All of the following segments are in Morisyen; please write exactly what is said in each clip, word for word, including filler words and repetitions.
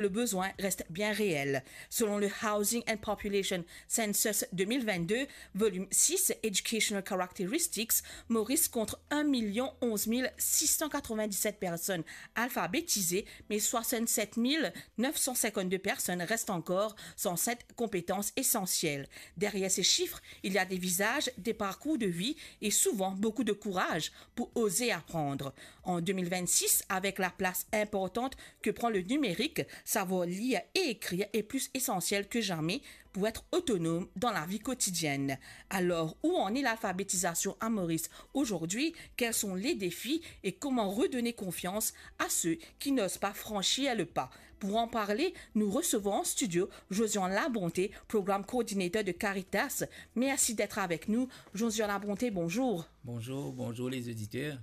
le besoin reste bien réel. Selon le Housing and Population Census deux mille vingt-deux, volume six, Educational Characteristics, Maurice compte un million onze mille six cent quatre-vingt-dix-sept personnes alphabétisées, mais soixante-sept mille neuf cent cinquante-deux personnes restent encore sans cette compétence essentielle. Derrière ces chiffres, il y a des visages, des parcours de vie et souvent beaucoup de courage pour oser apprendre. En deux mille vingt-six, avec la place importante que prend le numérique, savoir lire et écrire est plus essentiel que jamais pour être autonome dans la vie quotidienne. Alors, où en est l'alphabétisation à Maurice aujourd'hui ? Quels sont les défis et comment redonner confiance à ceux qui n'osent pas franchir le pas ? Pour en parler, nous recevons en studio Josian Labonté, Program Coordinator de Caritas. Merci d'être avec nous. Josian Labonté, bonjour. Bonjour, bonjour les auditeurs.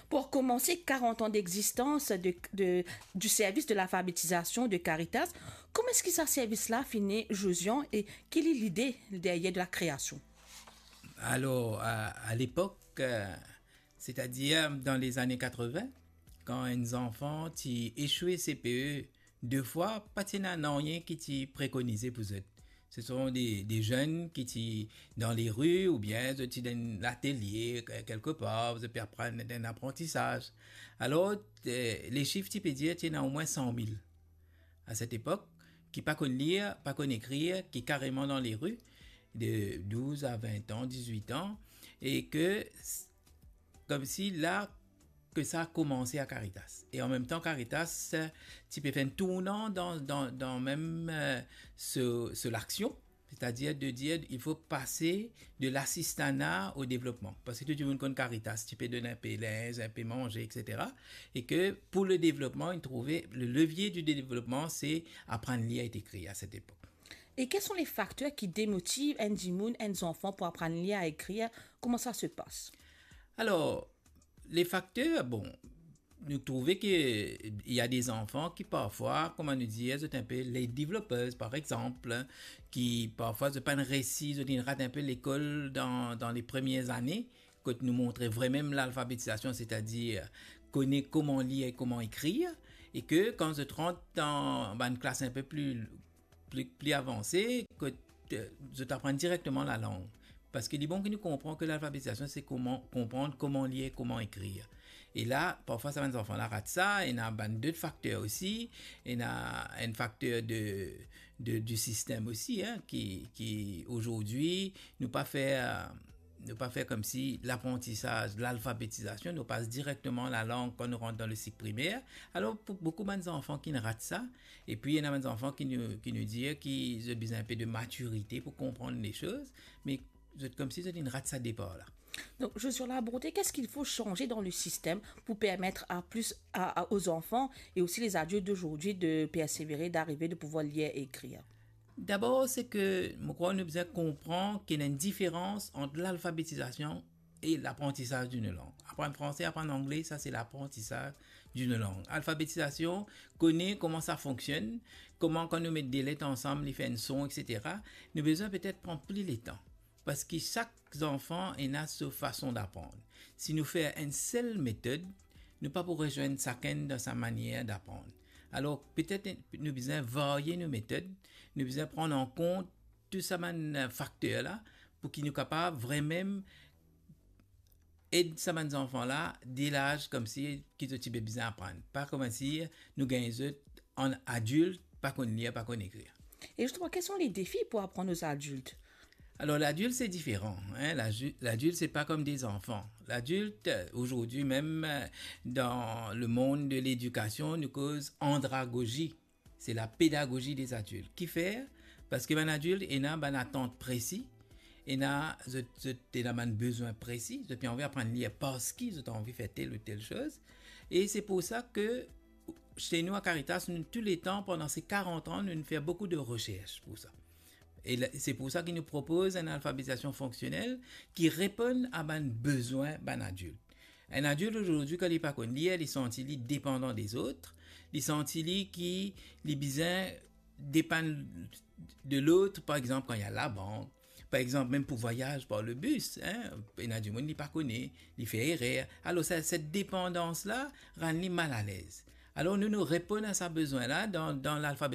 Pour commencer, quarante ans d'existence de, de, du service de l'alphabétisation de Caritas. Kouma eski sa servis la fini, Josian, e ki li lide deryer de la kreasion? Alors, à, à l'époque, euh, c'est-à-dire dans les années quatre-vingts, kan enn zanfan ti echoue C P E de fwa, pa ti ena nanye ki ti prekonize pou zot. Ce sont des, des jeunes ki ti dan lari oubien zot ti dan enn latelie, ke-, kelkepar, zot pe aprann enn aprantisaz. Alor, eh, le sif ti pe dir ti ena omwin san mil. À cette époque, ki pa konn lir, pa konn ekrir, ki kareman dan lari, de douz a vin an, dizwit an, e ke s-, koumsi la ke sa a koumanse a Caritas. E an mem tan, Caritas, eh, ti pe fer enn tournan dan, dan, dan mem, eh, se, se laksion, c'est-à-dire de dire, il faut passer de l'assistanat au développement. Parski tou dimoun konn Caritas, ti pe donn inpe linz, inpe manze, et cetera. E ke pour le développement, il trouvait le levier du développement, c'est apprendre à lire et écrire à cette époque. Et quels sont les facteurs qui démotivent un dimoun, un enfant pour apprendre à lire et écrire ? Comment ça se passe ? Alors, les facteurs, bon, nou trouve ke il y a des enfants ki parfwa, kouma nou dir, zot enpe late developers, par exemple, ki parfwa zot pa'nn resi, zot inn rat enpe lekol dan, dan les premières années, kot nou montre vremem lalfabetizasion, c'est-à-dire kone kouma lir e kouma ekrir, e ke kan zot rant dan bann klas inpe pli, pli, pli avanse, kot, eh, zot aprann direkteman lalang. Parski li bon ki nou konpran ke lalfabetizasion, se kouma, konpran kouma lir e kouma ekrir. E la, parfwa sa bann zanfan la rat sa, ena bann dot fakter osi, ena enn fakter de, de, du sistem osi, hein, ki, ki aujourd'hui, nou pa fer, nou pa fer koumsi laprantisaz, lalfabetizasion, nou pas direkteman lalang kan nou rant dan le sik primer. Alor, pou boukou bann zanfan ki'nn rat sa, epi ena bann zanfan ki nou, ki nou dir ki zot bizin inpe de matirite pou konpran le soz, me zot koumsi zot inn rat sa depar la. Donc, Josian Labonté, qu'est-ce qu'il faut changer dans le système pour permettre à plus, à, à, aux enfants et aussi les adultes d'aujourd'hui de persévérer, d'arriver, de pouvoir lire et écrire ? Dabor, se ke mo krwar nou bizin konpran ki ena enn diferans ant lalfabetizasion e laprantisaz d'une langue. Aprann franse, aprann angle, sa se laprantisaz d'une langue. Alfabetizasion, kone kouma sa fonksionn, kouma kan nou met de let ansam, li fer enn son, et cetera. Nou bizin petet pran pli letan. Parski sak zanfan ena so fason d'aprann. Si nou fer enn sel metod, nou pa pou rezwenn sakenn dan sa manier d'aprann. Alor, petet nou bizin varye nou metod, nou bizin pran an kont tou sa bann, eh, fakter la, pou ki nou kapav vremem ed sa bann zanfan la, de laz koumsi ki zot ti pe bizin aprann. Pa koumsi nou gagn zot an adilt, pa konn lir, pa konn ekrir. Et justement, quels sont les défis pour apprendre aux adultes ? Alors, l'adulte, c'est différent, hein. L'adu-, l'adulte, c'est pas comme des enfants. L'adulte, euh, aujourd'hui même, euh, dans le monde de l'éducation, nou koz andragogie. C'est la pédagogie des adultes. Kifer? Parski bann adilt ena bann atant presi, ena zot, zot ena bann bezwin presi, zot pe anvi aprann lir parski zot anvi fer tel ou tel soz. E se pou sa ke chez nous à Caritas, nou touletan, pandan se karant an, nou fer boukou de resers pou sa. E la, se pou sa ki nou propoz enn alfabetizasion fonksionel ki reponn a bann bezwin bann adilt. Enn adilt azordi, kan li pa konn lir, li santi li depandan de lot, li santi li ki li bizin depann de lot, par exanp, kan li al labank, par exanp, mem pou vwayaz par le bis, hein, ena dimoun li pa kone, li fer erer. Alor, sa, set depandans la rann li malalez. Alor nou, nou reponn a sa bezwin la dan, dan lalfabe